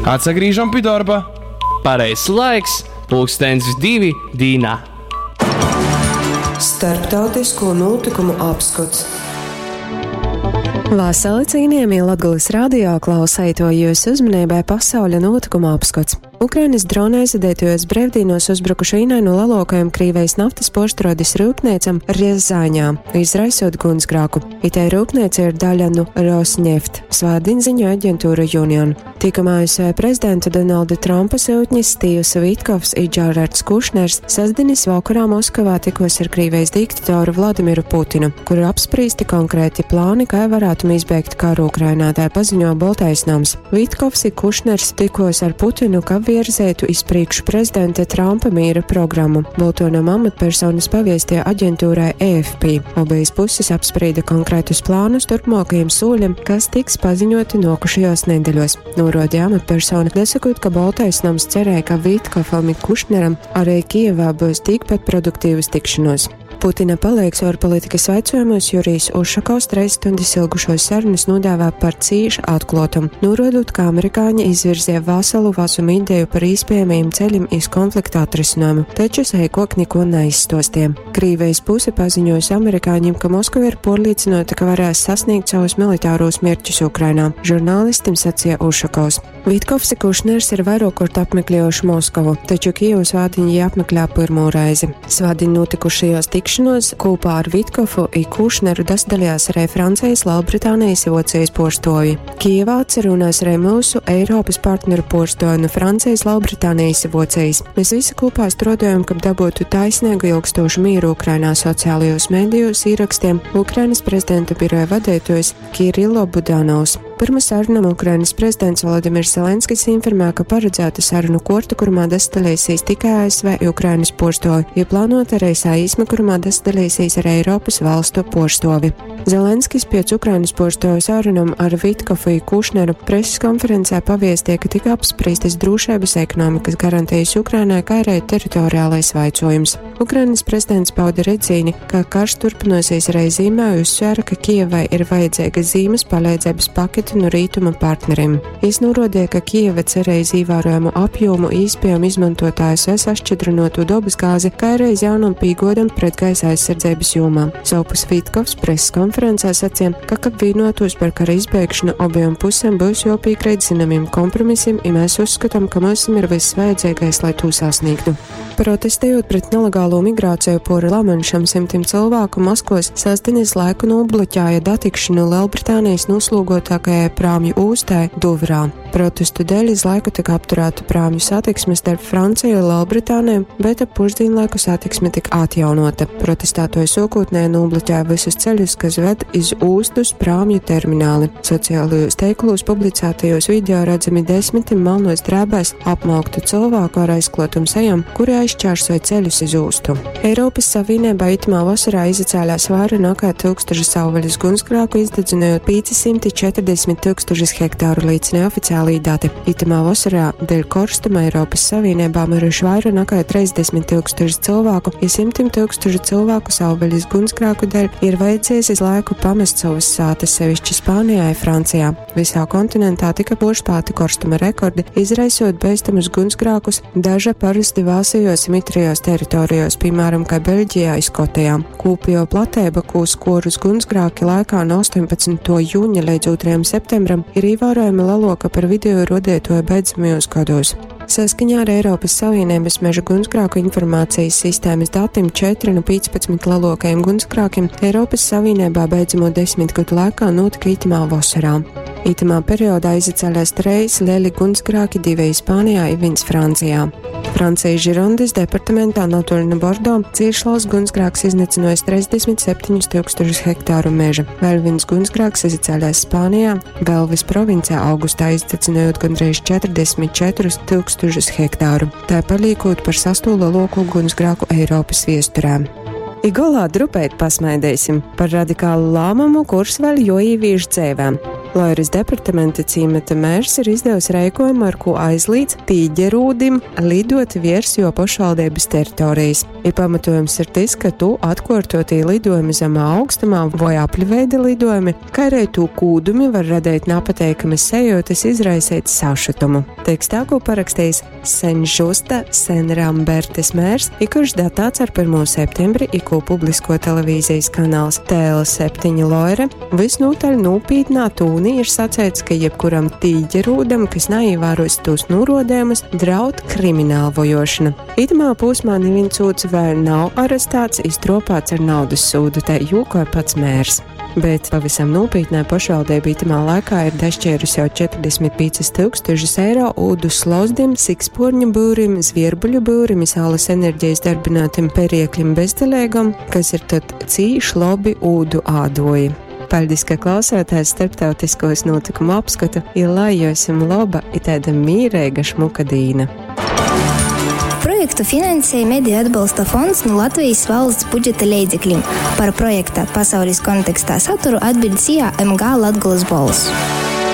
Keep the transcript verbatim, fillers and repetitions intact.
Atsagrīžam pi dorba. Pareizs laiks, pulkstens divi dīnā. Starptautisko notikumu apskots. Vasali cienījamie Latgulas radio klausētoji, jūsu uzmanībai pasauļa notikuma apskots. Ukrainas drona aizvadītajos brīvdienos uzbrukuši vienai no lielākajām Krīvijas naftas porštrodes rūpniecam Rjazaņā, izraisot gunsgrāku. Itei rūpnīca ir daļa no Rosneft, svātdien ziņo aģentūra Union. Tikam A S V prezidenta Donalda Trumpa sūtņis Stīvs Vitkovs i Džerards Kušners sestdienas vakarā Moskavā tikos ar Krīvijas diktatoru Vladimiru Putinu, kur apspriesti konkrēti plāni, kā varētu izbeigt karu Ukrainā, tā paziņo Baltais nams. Vitkovs i Kušners tikos ar Putinu, ka virzētu iz priekšu prezidenta Trumpa miera programmu. Boltonam amatpersonas paviestie aģentūrai E F P. Obejas puses apsprieda konkrētus plānus turpmākajiem soļiem, kas tiks paziņoti nokušajos nedēļos. Norādīja amatpersona, nesakot, ka Baltais nams cerēja, ka Vitkofam i Kušneram arī Kijevā būs tikpat produktīvas tikšanos. Putina palīgs ārpolitikas jautājumos Jurijs Ušakovs treis stundas ilgušos sarunas nodēvē par cīšu atklātumu, norādot, ka amerikāņi izvirzīja veselu vesumu ideju par iespējamiem ceļiem iz konflikta atrisinājumu, taču seikok neko neizstostie. Krīvijas puse paziņojusi amerikāņiem, ka Moskava ir pārliecināta, ka varēs sasniegt savus militāros mērķus Ukrainā, žurnālistim sacīja Ušakovs. Vitkovs i Kušners ir vairākkārt apmeklējuši Moskavu, taču Kijevu svātdiņ jie apmeklē pirmo reizi. Svātdiņ notikušajos tikšanos kopā ar Vitkofu i Kušneru dasdalījās arī Francijas, Lielbritānijas i Vocijas porstovi. Kijevā atcerunās arī mūsu Eiropas partneru porstovi no Francijas, Lielbritānijas i Vocijas. Mēs visi kopā strādājam, kab dabūtu taisnīgu ilgstošu mieru Ukrainā sociālajos medijos ierakstiem Ukrainas prezidenta biroja vadītājs Kirilo Budanovs. Pirma sarunam Ukrainas prezidents Volodimirs Zelenskis informē, ka paredzēta sarunu korta, kurumā dasdalīsies tikai A S V i Ukrainas porstovi, jo plānota arī saīsme, kurumā dasdalīsies arī Eiropas valstu porstovi. Zelenskis pēc Ukrainas porstovu sarunam ar Vitkofu i Kušneru preses konferencē paviestie, ka tika apspriestas drošības ekonomikas garantijas Ukrainai, kā arī teritoriālais vaicojums. Ukrainas prezidents pauda redzīni, ka karš turpināsies arī zīmē, uzsvēra, ka Kijevai ir vajadzīga zīmes palīdzības pakete no rītuma partneriem. Jis norādīja, ka Kijeva cerēja ievērojamu apjomu īspējumu izmantot A S V sašķidrinoto dabas gāzi, kā arī jaunam pīgodam pret gaisa aizsardzības jomā. Savpus Vitkovs preses konferencē sacīja, ka, kad vienotos par kara izbeigšanu, abiem pusēm būs jāpiekrīt zināmiem kompromisiem, ja mēs uzskatām, ka mums ir viss vajadzīgais, lai to sasniegtu. Protestējot pret nelegālo migrāciju pori Lamanšam, simtiem cilvēku Maskos sestdienas laiku nobloķēja datikšanu Lielbritānijas noslūgotākajai prāmju ūstai Duvrā. Protestu dēļ iz laiku tika apturēta prāmju satiksme starp Franciju un Lielbritāniju, bet ap pusdienlaiku satiksme tika atjaunota. Protestētoji sākotnēji nobloķēja visus ceļus, kas ved iz ūstus prāmju termināli. Sociālajos tīklos publicētajos video redzami desmitiem melnos drēbēs apmauktu cilvēku ar aizklotum sejām, kuri aizšķērsoja ceļus iz ūstu. Eiropas Savienībā itamā vasarā izacēlās vairāk nekā tūkstoši savvaļas gunsgrāku, izdedzinājot pieci simti četrdesmit tūkstošus hektāru, liecina oficiālī dati. Itamā vasarā dēļ korstuma Eiropas Savienībā miruši vairāk nekā trīsdesmit tūkstoši cilvēku, ja simtiem tūkstošu cilvēku savvaļas gunsgrāku dēļ ir vajadzējis iz laiku pamest savas sātas, sevišķi Spānijā un Francijā. Visā kontinentā tika porspēti korstuma rekordi, izraisot bīstamus gunsgrākus daža parasti vāsajos mitrajos teritorijos, piemēram, kā Beļģijā un Skotijā. Kūpjo platēba, ko skorus gunsgrāki laikā no astoņpadsmitā jūņa līdz otrajam septembram, ir ievērojami lielāka par video rodētoju beidzamajos gados. Saskaņā ar Eiropas Savienības meža gunsgrāku informācijas sistēmas datiem četri no piecpadsmit lielākajiem gunsgrākiem Eiropas Savienībā beidzamo desmit gadu laikā notika itamā vasarā. Itamā periodā izacēlās treis lieli gunsgrāki, divi Spānijā un viens Francijā. Francijas Žirondes departamentā netoli no Bordo cieši liels gunsgrāks iznīcinājis trīsdesmit septiņus tūkstošus hektāru meža. Vēl viens gunsgrāks izacēlās Spānijā, Belvis provincē augustā izdedzinājot gandrīz četrdesmit četrus tūkstošus hektāru, tā paliekot par sesto lielāko gunsgrāku Eiropas viesturē. I golā drupeit pasmaidēsim par radikālu lēmumu, kurš vēl joīvīž dzēvēm. Loiras departamenta cīmata mērs ir izdevis reikojumu, ar ko aizlīdz tīģerūdim lidot viers jo pašvaldības teritorijas. I pamatojums ir tas, ka tu atkārtotī lidojumi zemā augstumā voi apļveida lidojumi, kā arī tū kūdumi var radīt napateikamas sajūtas, izraisīt sašutumu. Tekstā, ko parakstījis Senžusta Senrambertes mērs, i kurš datāts ar pirmo septembri, i ko publisko televīzijas kanāls T L septiņi Loire, visnotaļ nopietnā tūnī ir sacēts, ka jebkuram tīģerūdam, kas neievēros tos norodējumus, draud krimināla vojošana. Itamā posmā neviens sūds vēl nav arestēts, iztropāts ar naudas sūdu, te jokoja pats mērs. Bet pavisam nopietnē pašvaldība itamā laikā ir dašķērusi jau četrdesmit piecas tūkstošus eiro ūdu slozdim, siksporņu būrim, zvierbuļu būrim, saules enerģijas darbinātim periekļim bezdelēgam, kas ir tad cīši labi ūdu ādoji. Paldies, ka klausāties starptautiskos notikumu apskatu, ja lai jums laba i tāda mīreiga šmuka dīna. Projektu finansēja Mediju atbalsta fonds no Latvijas valsts budžeta leidzekļiem. Par projekta pasaules kontekstā saturu atbild S I A M G Latgulas Bols.